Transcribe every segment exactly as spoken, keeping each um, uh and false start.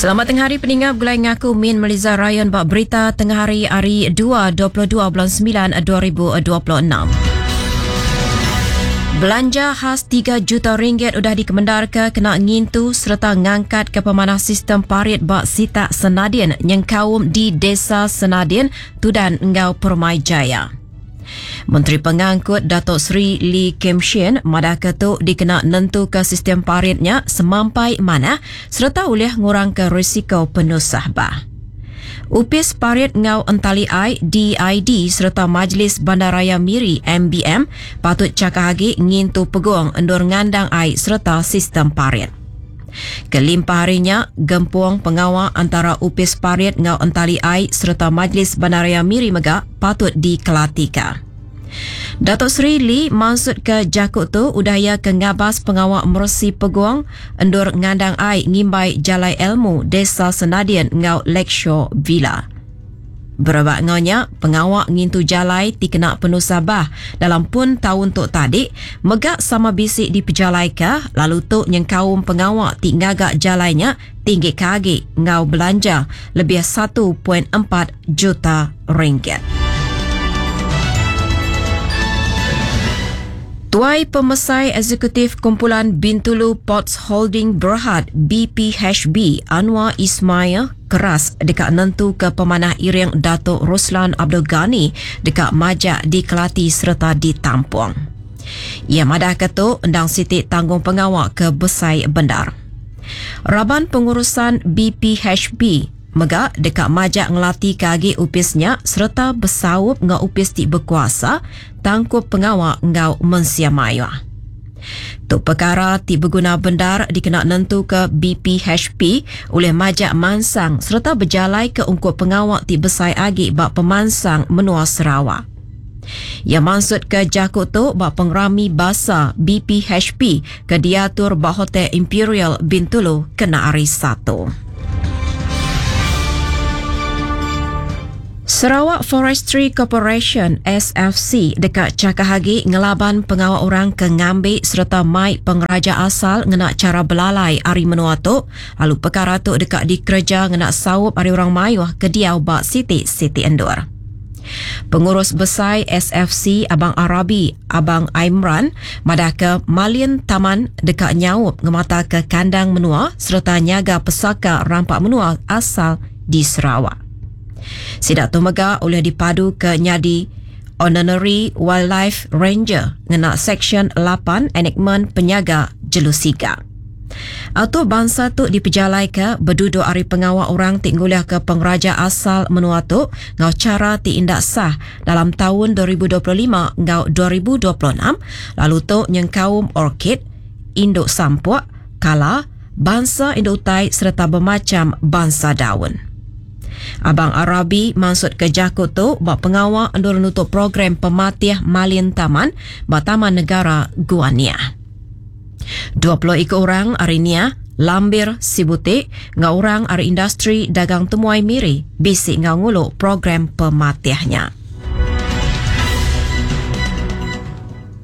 Selamat tengah hari peningap gulai ngaku Min Meliza Ryan bak berita tengah hari hari dua dua puluh dua bulan sembilan dua ribu dua puluh enam. Belanja khas tiga juta ringgit udah dikemendar ke kena ngintu serta ngangkat ke pemanah sistem parit bak Sitak Senadin nyengkaum di Desa Senadin, Tudan Enggau Permai Jaya. Menteri Pengangkut Datuk Seri Lee Kim Shin madah ke tu dikena nentu ke sistem paritnya semampai manah serta ulih ngurang ke risiko penusah bah. Upis Parit Ngau Entali Ai D I D serta Majlis Bandaraya Miri M B M patut cakah agi ngintu peguang endur ngandang ai serta sistem parit. Kelimpah harinya, gempung pengawal antara Upis Parit Ngau Entali Ai serta Majlis Bandaraya Miri mega patut dikelatika. Datuk Seri Lee maksud ke jakut tu udaya ke ngabas pengawal mersi peguang endur ngandang ai ngimbai Jalai Elmu Desa Senadin Ngau Lakeshore Villa. Berebak ngonya, pengawal ngintu jalai ti kena penuh sabah dalam pun tahun tok tadi megak sama bisik di pejalaika lalu tu nyengkaum pengawal ti ngagak jalainya tinggi kagi ngau belanja lebih satu perpuluhan empat juta ringgit. Tuai Pemesai Eksekutif Kumpulan Bintulu Ports Holding Berhad B P H B Anwar Ismail keras dekat nentu ke pemanah iring Datuk Ruslan Abdul Ghani dekat majak dikelati serta ditampung. Ia madah ketu endang siti tanggung pengawal ke Besai Bendar. Raban pengurusan B P H B mega dekat majak ngelati kagi upisnya serta besaup ngau upis ti berkuasa tangkup pengawal ngau mensia maya. Tu perkara ti berguna bendar dikena nentu ke B P H P oleh majak mansang serta berjalai ke ungkup pengawal ti besai agi bak pemansang menua Sarawak. Ia maksud ke jakut tu bak pengerami basa B P H P ke diatur bak Hotel Imperial Bintulu kena hari Satu. Sarawak Forestry Corporation S F C dekat cakah agi ngelaban pengawal orang ke ngambi serta mai pengeraja asal ngena cara belalai ari menua tu lalu perkara tu dekat dikerja ngena saup ari orang mayuh ke diau bak siti-siti endur. Pengurus Besai S F C Abang Arabi Abang Aimran madah ke Malin Taman dekat nyaup ngemata ke kandang menua serta nyaga pesaka rampak menua asal di Sarawak. Sidak tu mega oleh dipadu ke nyadi Honorary Wildlife Ranger ngena Seksyen lapan Enakmen Penyaga Jelusiga. Auto bangsa tu dipejalai ke berduduk ari pengawal orang ti nguliah ke pengeraja asal menua tu ngau cara ti indak sah dalam tahun dua ribu dua puluh lima ngau dua ribu dua puluh enam lalu tu nyengkaum orkid, induk sampuk, kala, bangsa induk utai serta bermacam bangsa daun. Abang Arabi maksud ke jakut tu bak pengawal endur nutup program pematih Malin Taman bak Taman Negara Gua Niah. dua puluh ikut orang hari Niah, Lambir Sibutik, ngau orang ari industri dagang temuai Miri, bisik ngau nguluk program pematihnya.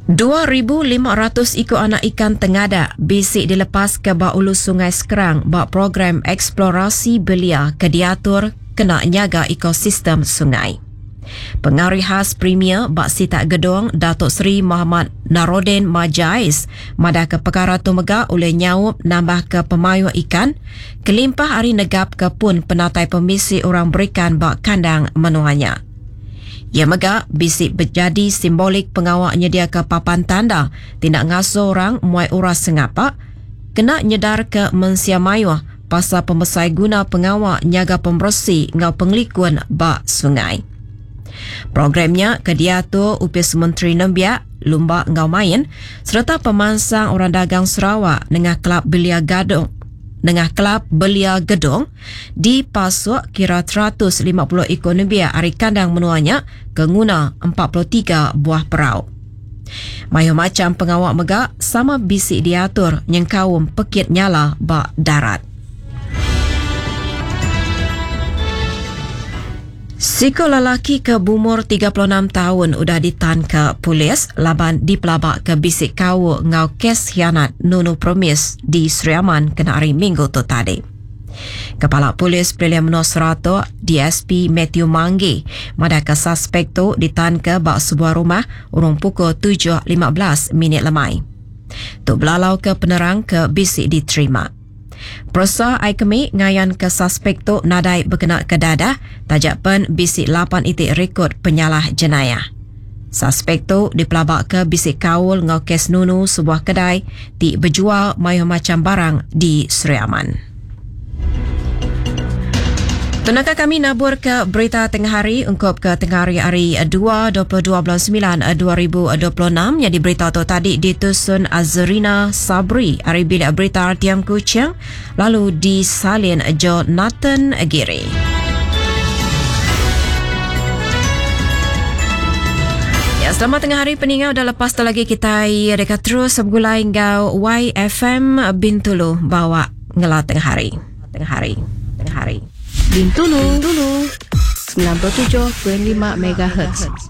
dua ribu lima ratus ikut anak ikan tengadak bisik dilepas ke bak ulu Sungai Skrang bak program eksplorasi belia ke diatur kena nyaga ekosistem sungai. Pengarih khas Premier Bak Sitak Gedong Datuk Seri Muhammad Naroden Majais madah ke perkara tu mega oleh nyaup nambah ke pemayuh ikan kelimpah hari negap ke pun penatai pemisi orang berikan bak kandang menuanya. Ia mega bisik berjadi simbolik pengawal nyedia ke papan tanda tindak ngasuh orang muai uras sengapak kena nyedar ke mensia mayuh pasal pembesai guna pengawal nyaga pembersih ngau pengelikun bak sungai. Programnya kediatur Upis Menteri Nembiak, Lumba Ngau Main serta pemansang orang dagang Sarawak dengan Kelab Belia Gadong dengan Kelab Belia Gedong dipasuk kira seratus lima puluh ekor nembiak ari kandang menuanya ke nguna empat puluh tiga buah perau. Mayu macam pengawak mega sama bisik diatur nyengkaum pekit nyala bak darat. Siko lelaki ke bumur tiga puluh enam tahun udah ditan ke polis laban dipelabak ke bisik kau ngau kes hianat nunu promis di Sri Aman kena hari Minggu tu tadi. Kepala Polis Pelilih Menua Seratok, D S P Matthew Manggi, madahka suspek tu ditanka ba sebuah rumah urung pukul tujuh lima belas minit lemai. Tu belalau ke penerang ke bisi diterima. Peresa ai kemi ngayan ke suspek tu nadai berkena ke dadah, tajak pen bisi lapan itik rekod penyalah jenayah. Suspek tu dipelabak ke bisi kaul ngau kes nunu sebuah kedai ti berjual mayuh macam barang di Sri Aman. Tunaka kami nabur ke berita tengah hari ungkup ke tengah hari hari dua dua puluh dua bulan sembilan dua ribu dua puluh enam. Jadi berita tu tadi ditusun Azrina Sabri hari bilik berita R T M Kuching lalu disalin Jonathan Giri. Ya, selamat tengah hari peninggal dah lepas tu lagi kita dekat terus bergulai ngau Y F M Bintulu bawa ngela tengah hari. Tengah hari. Tengah hari. Bintulu. Bintulu. sembilan puluh tujuh perpuluhan lima megahertz.